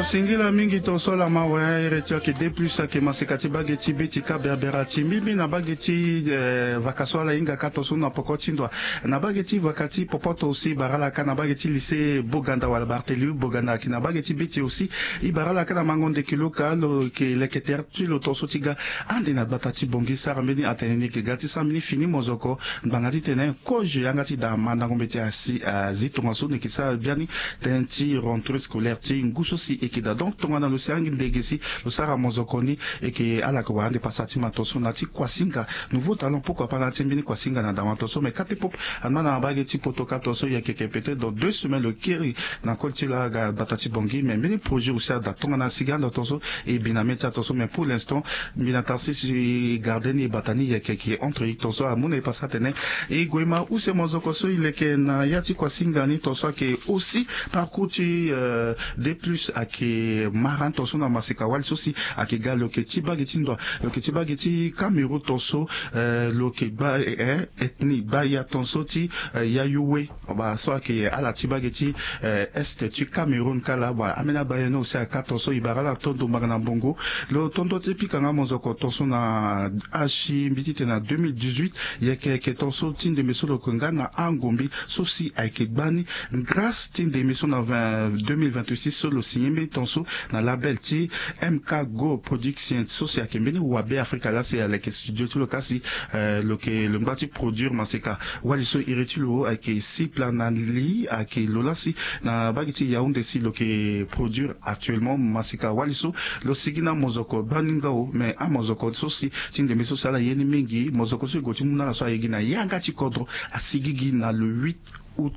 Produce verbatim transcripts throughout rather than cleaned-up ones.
Singila mingi tonso ala mawe. Ere ti ayeke deux plus ayeke maseka ti bage ti be ti kaberbera ti mbibi na bage ti vaka so ala hinga ka tonso na poko ti ndo. Na bage ti vaka ti popoto aussi bara ala ka na bage ti lycée boganda wala barthélemy boganda ayeke na bage ti be ti aussi. E bara ala ka na mango ndeke lo ka lo yeke leke tere ti lo tonso ti ga ande na gbata ti bongi sara mbeni atene ni yeke ga ti sara mbeni fini mozoko ngbanga titene kozo yanga ti daa mandango mbeti asi azi tongaso ni yeke sara biani. Tënë ti rentrée scolaire ti ngu so si e yeke daa donc tongana lo si angi ndege si lo sara mozoko ni. E yeke ala yeke wara ande pasa ti mato so na ti kuasinga nouveau talent pourquoi pas na ti mbeni kuasinga na daa mato so mais kate pop. Anama na bage ti poto ka tonso e yeke yeke peut-être dans deux semaines lo kiri na koli ti lo aga bata ti bongi mais mbeni projet aussi ada tongana sigi ando tonso. E bi na mê ti ato so mais pour l'instant mbi na tarsis e garde ni e bata ni yeke yeke entre e tonso amu na e pasa atene e gue ma use mozoko so e leke na ya ti kuasinga ni tonso ayeke aussi parcours ti deux plus ayeke mara ni tonso na maseka wali so si ayeke ga lo yeke ti bage ti ndoa lo yeke ti bage ti cameroun tonso. Lo yeke gba ethnie baya tonso ti yayu we. Ba so ayeke ala ti bage ti est ti cameroun kala ba ambeni abaya ni aussi aka tonso e bara ala to ndombanga na mbongo. Lo tondo ti pika nga mozoko tonso na asi mbi titene na deux mille dix-huit. Yeke yeke tonso ti ndembe so lo yeke nga na angombi so si ayeke gba ni grâce ti ndembe so na deux mille vingt-six so lo signe mbeni tonso na label ti mk go production so si ayeke mbeni wabe afrika laa si aleke studio ti lo kasi lo yeke lo ngba ti produire maseka wali so iri ti lo ayeke sipla na li ayeke lo laa si na bage ti yaounde si lo yeke produire actuellement maseka wali so lo sigi na mozoko bani nga o mais amozoko so si ti ndembe so si ala ye ni mingi mozoko so e gue ti mu na ala so aye gi na yanga ti kodro asigi gi na le huit août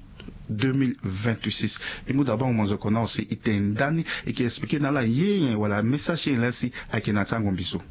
deux mille vingt-six. E mu daa bango mozoko na ose e tene ndani e yeke explike na ala ye nyen wala message ti nyen laa si ayeke na ti angombi so.